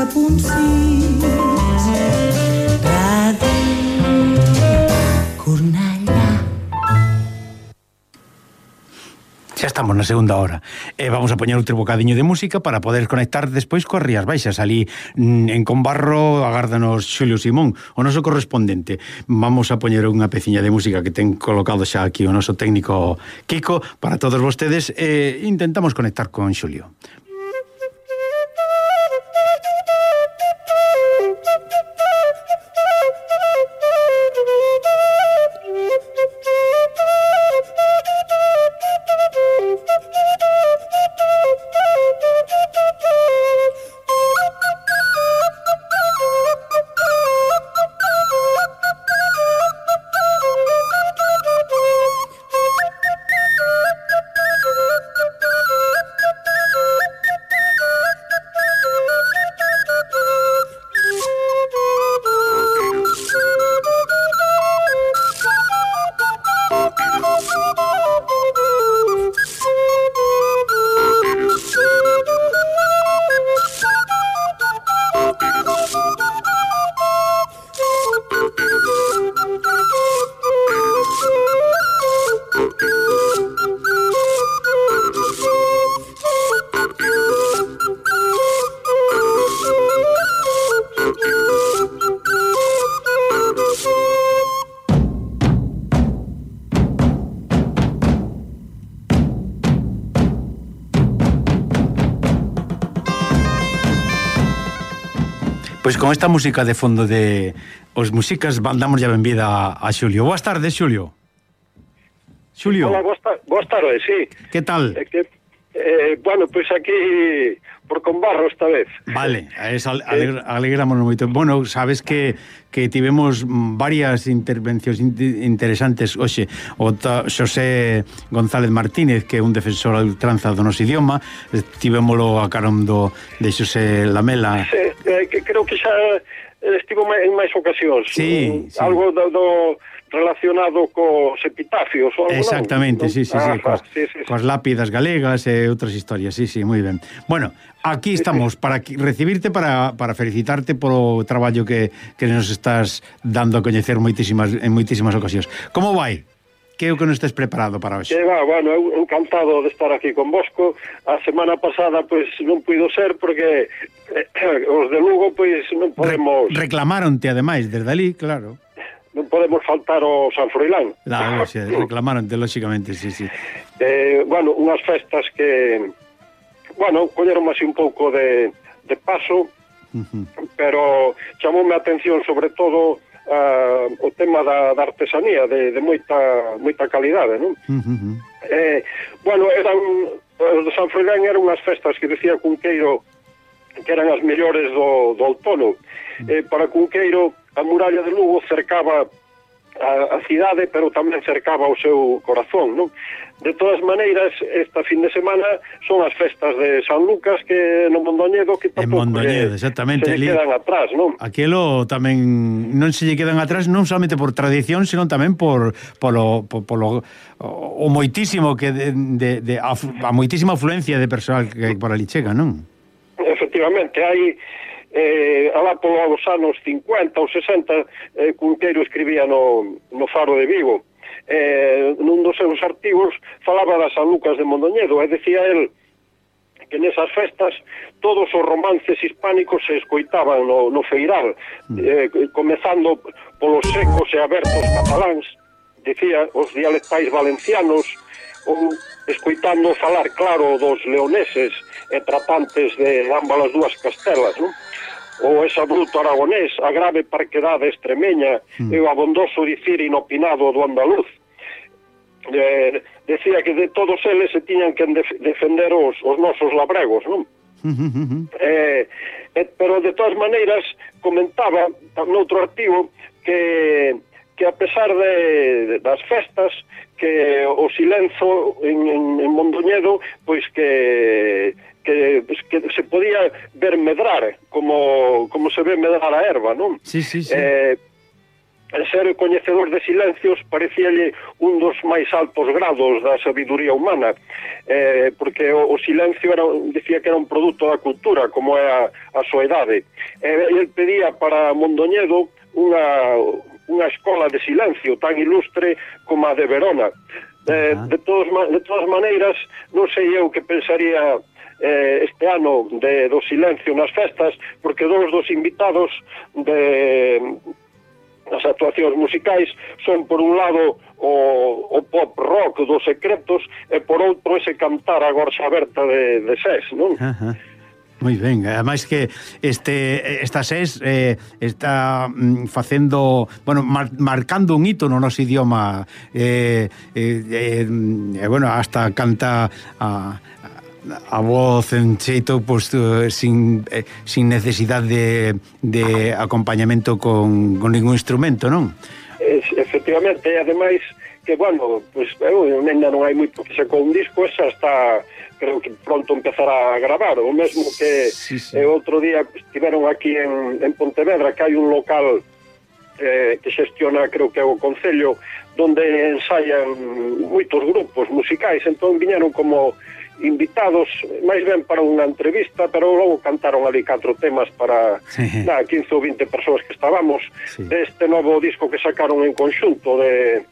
107.6 Ràdio Cornellà. Xa estamos na segunda hora e vamos a poñer outro bocadiño de música para poder conectar despois coas Rías Baixas. Ali en Combarro agárdanos Xulio Simón, o noso correspondente. Vamos a poñer unha peciña de música que ten colocado xa aquí o noso técnico Kiko para todos vostedes e intentamos conectar con Xulio. Pois con esta música de fondo de os músicas damos a benvida a Xulio. Boas tardes, Xulio. Xulio. Hola, boas tardes, sí. Que tal? Bueno, pois aquí por Combarro esta vez. Vale, alegrámonos moito. Bueno, sabes que tivemos varias intervencións interesantes hoxe. O Xosé González Martínez, que é un defensor a ultranza do noso idioma, tivémolo a carón de Xosé Lamela. Sí, creo que xa estivo en máis ocasións. Sí, sí. Algo do relacionado cos epitafios ou algo. Exactamente, non? sí. Coas lápidas galegas e outras historias, sí, moi ben. Bueno, aquí estamos para recibirte, para felicitarte polo traballo que nos estás dando a coñecer en moitísimas ocasións. Como vai? Que é o que non estés preparado para hoxe? Bueno, eu encantado de estar aquí con vosco. A semana pasada, pois, non puido ser porque os de Lugo, pois, non podemos... Reclamaronte, ademais, desde ali, claro. Non podemos faltar ao San Froilán. Claro, sí, reclamaronte, lóxicamente, sí. Bueno, unhas festas que... Bueno, colleron así un pouco de paso, pero chamoume a atención sobre todo o tema da artesanía de moita calidade, non? Bueno, os de San Froilán eran unhas festas que decía Cunqueiro que eran as mellores do outono. Para Cunqueiro, a muralla de Lugo cercaba a cidade, pero tamén cercaba o seu corazón, non? De todas maneiras, esta fin de semana son as festas de San Lucas, que no Mondoñedo, que tampouco exactamente, se lle quedan atrás, non? Aquilo tamén non se lle quedan atrás, non solamente por tradición, senón tamén por o moitísimo que a moitísima afluencia de persoal que por ali chega, non? Efectivamente, hai alá polos anos 50 ou 60 Cunqueiro escribía no Faro de Vigo, nun dos seus artigos falaba das San Lucas de Mondoñedo e decía el que nesas festas todos os romances hispánicos se escoitaban no feiral, comezando polos secos e abertos cataláns, decía, os dialectais valencianos, ou escoitando falar claro dos leoneses e tratantes de ambas as dúas castelas, non? Ou ese bruto aragonés, a grave parquedade extremeña e o abondoso dicir inopinado do andaluz. Decía que de todos eles se tiñan que defender os nosos labregos, non? Pero de todas maneiras comentaba noutro artigo que a pesar das festas, que o silenzo en Mondoñedo, pois que se podía ver medrar como se ve medrar a erva, non? Sí. ser coñecedor de silencios parecíalle un dos máis altos grados da sabiduría humana, porque o silencio decía que era un produto da cultura, como é a soidade. Ele pedía para Mondoñedo unha escola de silencio tan ilustre como a de Verona. De todas maneiras, non sei eu que pensaría este ano do silencio nas festas, porque dos invitados as actuacións musicais son, por un lado, o pop rock dos Secretos e, por outro, ese cantar a gorxa aberta de SES, non? Moi ben, ademais que esta SES está facendo, bueno, marcando un hito no noso idioma, bueno, hasta canta a voz en xeito, pues, sin necesidade de acompañamento con ningún instrumento, non? Efectivamente, e ademais que, bueno, pues, ainda non hai moito que sacou un disco, esa está, creo que pronto empezará a gravar, o mesmo que outro día estiveron aquí en Pontevedra, que hai un local que xestiona, creo que é o Concello, donde ensaian moitos grupos musicais, entón viñeron como invitados, máis ben para unha entrevista, pero logo cantaron ali 4 temas para 15 ou 20 persoas que estábamos, deste novo disco que sacaron en conxunto de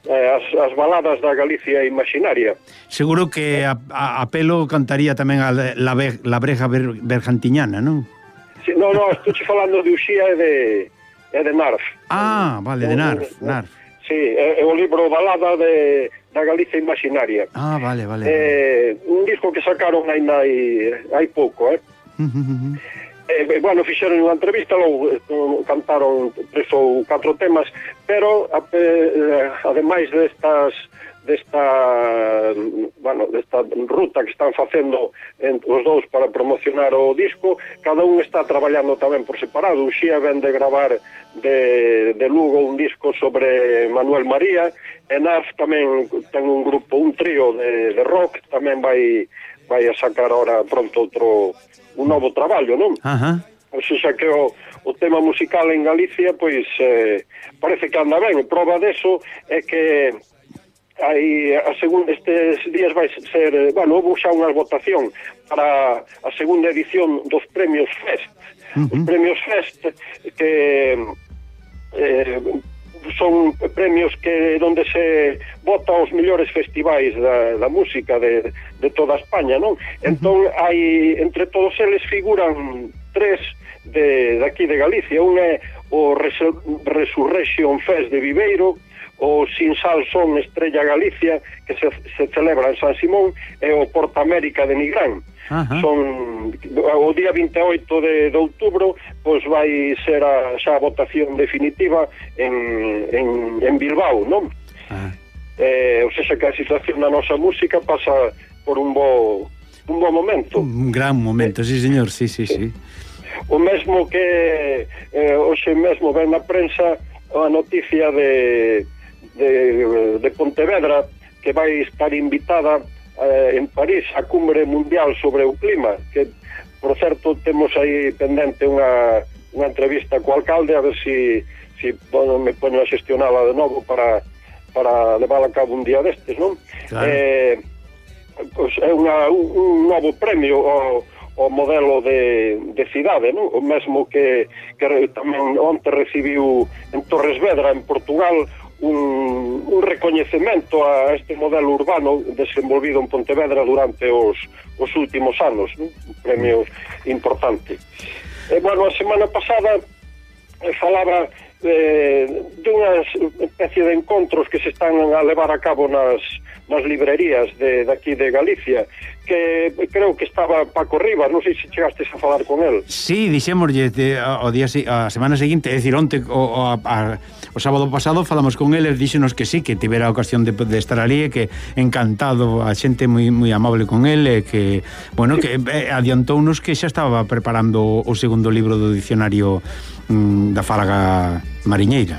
as baladas da Galicia imaginaria. Seguro que a pelo cantaría tamén a la breja bergantiñana, non? Sí, no, estou falando de Uxía e de Narf. Ah, vale, de Narf. Sí, é o libro balada da Galicia imaginaria. Ah, vale. Un disco que sacaron hai pouco, bueno, fixeron unha entrevista, logo cantaron 3 ou 4 temas, pero ademais desta ruta que están facendo os dous para promocionar o disco, cada un está traballando tamén por separado. O Xía ven de gravar de Lugo un disco sobre Manuel María, e Narf tamén ten un grupo, un trío de rock, tamén vai a sacar ahora pronto un novo traballo, non? O sea que o tema musical en Galicia, pois parece que anda ben. Prova deso é que estes días vai ser, bueno, houve xa unha votación para a segunda edición dos premios Fest. Os premios Fest que son premios que donde se vota os mellores festivais da música de toda España, non? Entón, entre todos eles figuran 3 de aquí de Galicia. Un é o Resurrection Fest de Viveiro, o Sin Sal Son Estrella Galicia, que se celebra en San Simón, e o Porta América de Nigrán. Son o día 28 de outubro, pois vai ser xa a votación definitiva en Bilbao, non? O sea que a situación da nosa música pasa por un bo momento. Un gran momento, sí, señor, sí. O mesmo que hoxe mesmo ven na prensa a noticia de Pontevedra, que vai estar invitada en París a cumbre mundial sobre o clima, que, por certo, temos aí pendente unha entrevista co alcalde, a ver si me poño a xestionala de novo para levar a cabo un día destes, non? Claro. Pois é un novo premio ao modelo de cidade, non? O mesmo que tamén onte recibiu en Torres Vedra, en Portugal, un recoñecemento a este modelo urbano desenvolvido en Pontevedra durante os últimos anos, non? Un premio importante. Bueno, a semana pasada falaba de unha especie de encontros que se están a levar a cabo nas librerías de aquí de Galicia, que creo que estaba Paco Rivas, non sei se chegastes a falar con el. Sí, dixémoslle a semana seguinte, é dicir, onte o sábado pasado falamos con el, díxenos que sí, que tivera a ocasión de estar ali, e que encantado, a xente moi amable con el, e que, bueno, que adiantounos que xa estaba preparando o segundo libro do dicionario da Fálaga Mariñeira.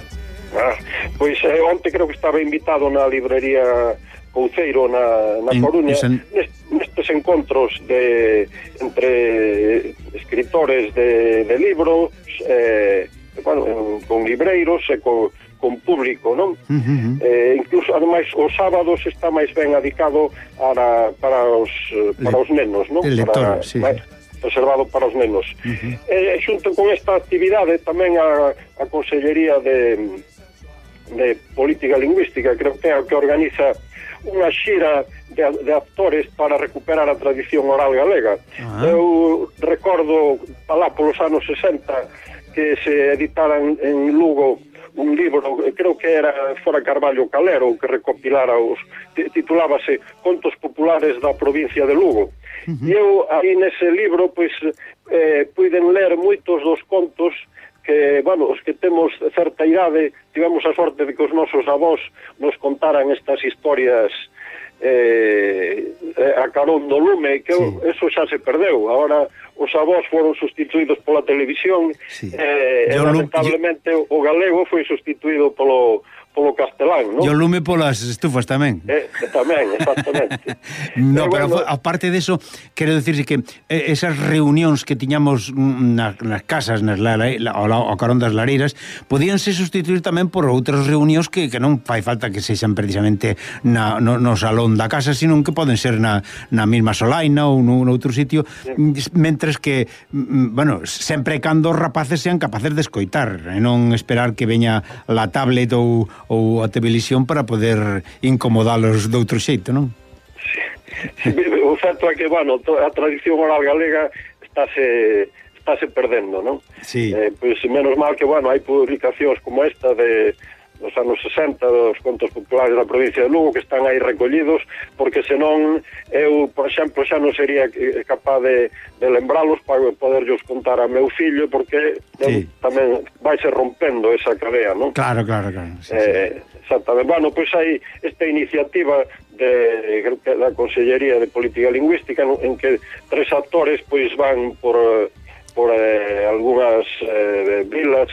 Pois onte creo que estaba invitado na librería Couceiro na Coruña, nestes encontros entre escritores de libros, bueno, con libreiros e con público, non? Incluso, ademais, os sábados está máis ben adicado para os nenos, non? Lector, sí. Reservado para os nenos. Xunto con esta actividade tamén a Consellería de Política Lingüística, creo que é o que organiza unha xira de actores para recuperar a tradición oral galega. Eu recordo alá polos anos 60 que se editaran en Lugo un libro, creo que era fora Carballo Calero, que recopilara titulábase Contos Populares da provincia de Lugo. E eu aí nese libro pois puiden ler moitos dos contos que, bueno, os que temos certa idade tivemos a sorte de que os nosos avós nos contaran estas historias a carón do lume, que eso xa se perdeu. Agora os avós foron sustituídos pola televisión, lamentablemente o galego foi sustituído polo castelán, non? E o lume polas estufas tamén. Tamén, exactamente. No, pero bueno, aparte de eso, quero dicirse que esas reunións que tiñamos nas casas, ao carón das lareiras, podíanse sustituir tamén por outras reunións que non fai falta que sexan precisamente no salón da casa, sino que poden ser na mesma solaina ou nun outro sitio, mentres que, bueno, sempre cando os rapaces sean capaces de escoitar, e non esperar que veña la tablet ou a televisión para poder incomodalos de outro xeito, non? Sí. O certo é que, bueno, a tradición oral galega estáse perdendo, non? Sí. Pois menos mal que, bueno, hai publicacións como esta dos anos 60, dos contos populares da provincia de Lugo, que están aí recollidos, porque senón eu, por exemplo, xa non sería capaz de lembralos para poderllos contar a meu fillo, porque tamén vai ser rompendo esa cadea, non? Claro. Sí. Exactamente. Bueno, pois hai esta iniciativa da Consellería de Política Lingüística en que 3 actores pois van por algunhas vilas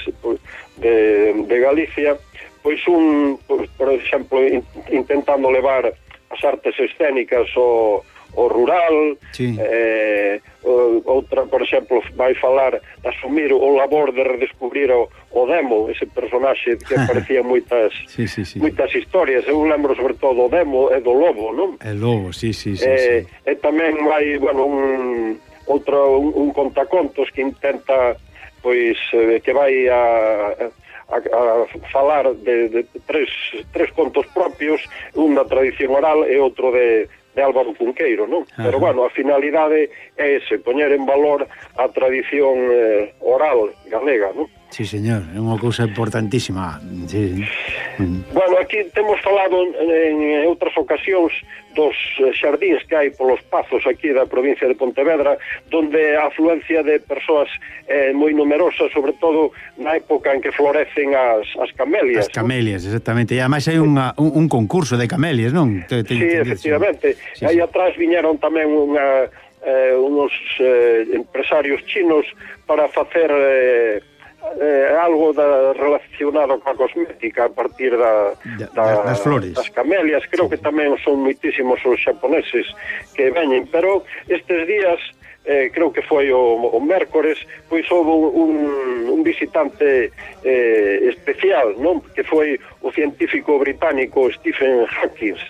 de Galicia, pois por exemplo, intentando levar as artes escénicas ao rural, outra, por exemplo, vai falar de asumir o labor de redescubrir o Demo, ese personaxe que aparecía moitas historias. Eu lembro sobre todo o Demo e do Lobo, non? El Lobo, sí. E tamén vai, bueno, un contacontos que intenta, pois, que vai a falar de tres contos propios, un da tradición oral e outro de Álvaro Cunqueiro, non? Pero, bueno, a finalidade é ese, poñer en valor a tradición oral galega, non? Sí, señor, é unha cousa importantísima. Sí. Bueno, aquí temos falado en outras ocasións dos xardíns que hai polos pazos aquí da provincia de Pontevedra, donde a afluencia de persoas é moi numerosa, sobre todo na época en que florecen as camelias. As camelias, ¿no? Exactamente. E ademais hai un concurso de camelias, non? Sí, efectivamente. Sí. Aí atrás viñeron tamén unos empresarios chinos para facer algo relacionado coa cosmética a partir das flores, das camelias. Creo que tamén son moitísimos os xaponeses que veñen, pero estes días creo que foi o mércores, pois houve un visitante especial, non? Que foi o científico británico Stephen Hawking,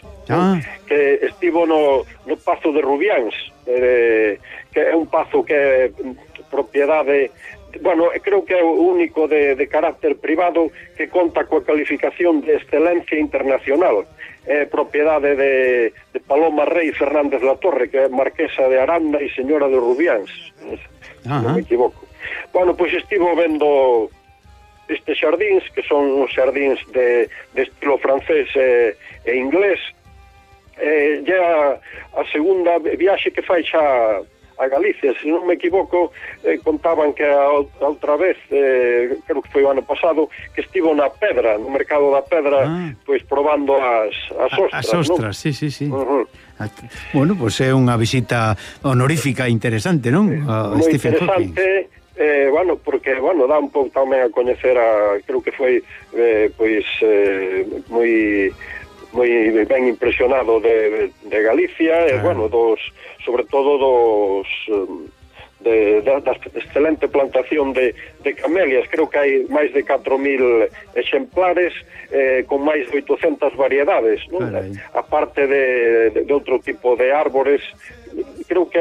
que estivo no Pazo de Rubiáns, que é un pazo que é propiedade, bueno, creo que é o único de carácter privado que conta coa calificación de excelencia internacional. É propiedade de Paloma Rey Fernández La Torre, que é marquesa de Aranda e señora de Rubiáns, non me equivoco. Bueno, pois estivo vendo estes xardíns, que son os xardíns de estilo francés e inglés. A segunda viaxe que fai xa a Galicia, se non me equivoco, contaban que a outra vez, creo que foi o ano pasado, que estivo na Pedra, no mercado da Pedra, pois probando as ostras. As ostras, ¿no? Sí. Bueno, pois é unha visita honorífica interesante, non? Moi interesante, bueno, porque, bueno, dá un pouco tamén a coñecer creo que foi, pois, moi ben impresionado de Galicia, bueno, sobre todo da excelente plantación de camelias. Creo que hai máis de 4.000 exemplares con máis de 800 variedades, non? Aparte de outro tipo de árbores. Creo que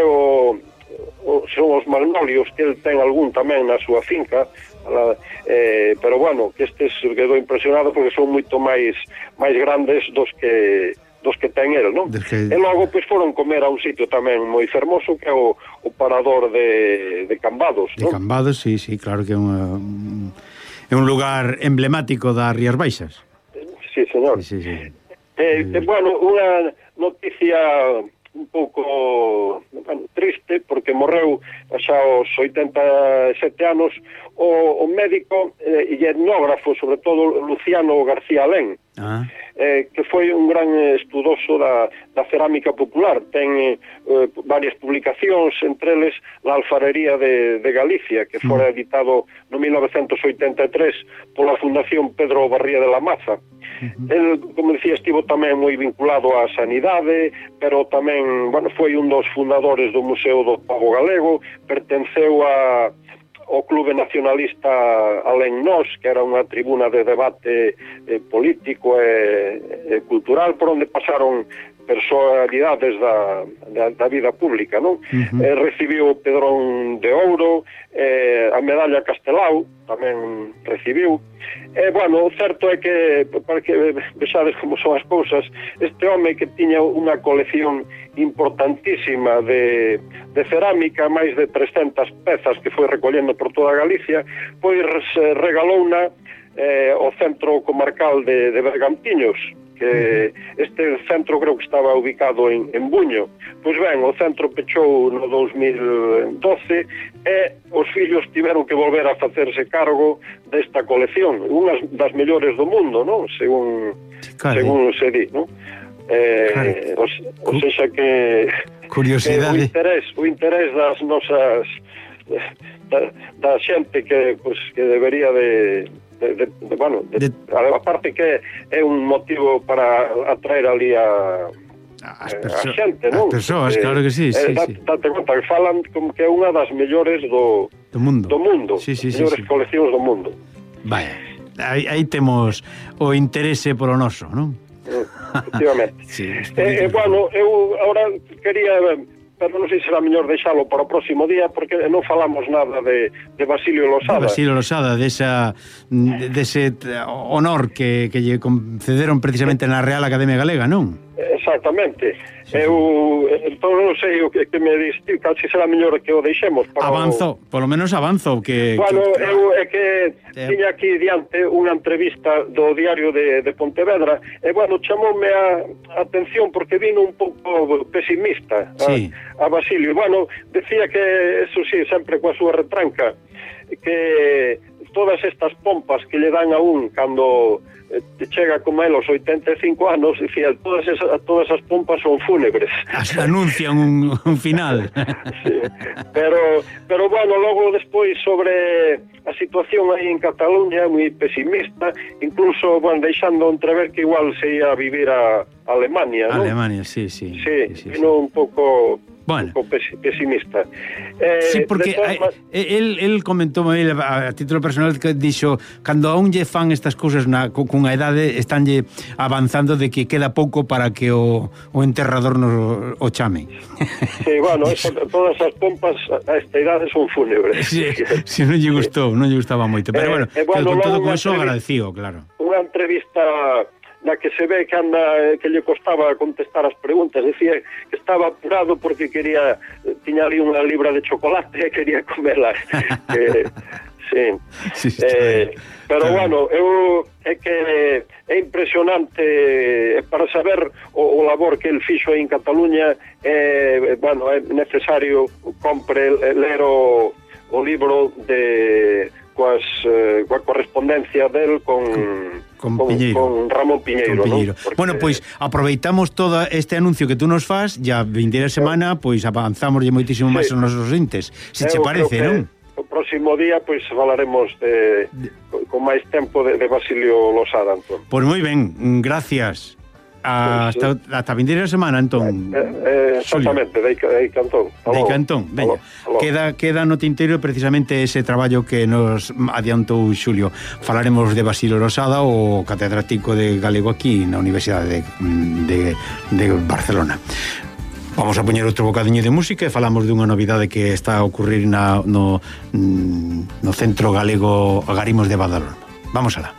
son os magnolios, que el ten algún tamén na súa finca, pero bueno, que estes quedou impresionado porque son moito máis grandes dos que ten el, non? E logo pois foron comer a un sitio tamén moi fermoso que é o Parador de Cambados, non? De Cambados, sí, claro que é un lugar emblemático das Rías Baixas. Sí, señor. Sí. Bueno, unha noticia un pouco triste, porque morreu xa aos 87 anos o médico e etnógrafo, sobre todo Luciano García Alén, que foi un gran estudoso da cerámica popular. Ten varias publicacións, entre eles La alfarería de Galicia, que fora editado no 1983 pola Fundación Pedro Barría de la Maza. El, como dicía, estivo tamén moi vinculado á sanidade, pero tamén, foi un dos fundadores do Museo do Pobo Galego, pertenceu ao Clube Nacionalista Alén Nós, que era unha tribuna de debate político e cultural, por onde pasaron personalidades da vida pública, non? Recibiu o Pedrón de Ouro, a medalla Castelao tamén recibiu. O certo é que, para que vexades como son as cousas, este home que tiña unha colección importantísima de cerámica, máis de 300 pezas que foi recollendo por toda Galicia, pois regalouna o Centro Comarcal de Bergantiños, que este centro creo que estaba ubicado en Buño. Pois ben, o centro pechou no 2012 e os fillos tiveron que volver a facerse cargo desta colección, unhas das mellores do mundo, non? Según se di, non? O sexa que curiosidade, o interés das nosas da xente que debería aparte que é un motivo para atraer ali a xente, non? As persoas, claro que sí. Date conta que falan como que é unha das mellores do mundo. Mellores coleccións do mundo. Vaya, aí temos o interese polo noso, non? Efectivamente. Eu agora quería, pero non sei se será mellor deixalo para o próximo día, porque non falamos nada de Basilio Losada. Basilio Losada, dese honor que lle concederon precisamente na Real Academia Galega, non? Exactamente. Entón non sei o que me diste, casi será mellor que o deixemos para polo menos avanzo que eu é que tiña aquí diante unha entrevista do Diario de Pontevedra e chamoume a atención porque vino un pouco pesimista a Basilio. Decía que eso sí, sempre coa súa retranca, que todas estas pompas que lle dan a un cando chega como el aos 85 anos, dicía, todas as pompas son fúnebres. Anuncian un final. Sí. Pero logo despois sobre a situación aí en Cataluña, moi pesimista, incluso deixando entrever que igual se ia a vivir a Alemania, non? Alemania, sí. Vino un pouco pesimista. Sí, porque él comentou a título personal que dixo, cando aún lle fan estas cousas cunha idade, estanlle avanzando de que queda pouco para que o enterrador nos o chame. Sí, todas as pompas a esta idade son fúnebres. Si non lle gustaba moito, pero con todo con eso agradecido, claro. Unha entrevista na que se ve que lle costaba contestar as preguntas, decía que estaba apurado porque tiña ali unha libra de chocolate e quería comela. Sí. Pero é que é impresionante para saber o labor que el fixo en Cataluña. É necesario ler o libro coa correspondencia del con Ramón Piñeiro. Porque... pois aproveitamos todo este anuncio que tú nos fas, ya vindeira semana, pois avanzamos moitísimo máis os nosos entes, se che parece, non? O próximo día, pois, falaremos con máis tempo de Basilio Losada, Antón. Pois moi ben, gracias. hasta a vindeira semana, entón. Exactamente, de Cantón. De Cantón, veña. Queda no tinteiro precisamente ese traballo que nos adiantou Xulio. Falaremos de Basilio Rosada, o catedrático de galego aquí na Universidade de Barcelona. Vamos a poñer outro bocadiño de música e falamos dunha novidade que está a ocurrir no Centro Galego Agarimos de Badalona. Vamos alá.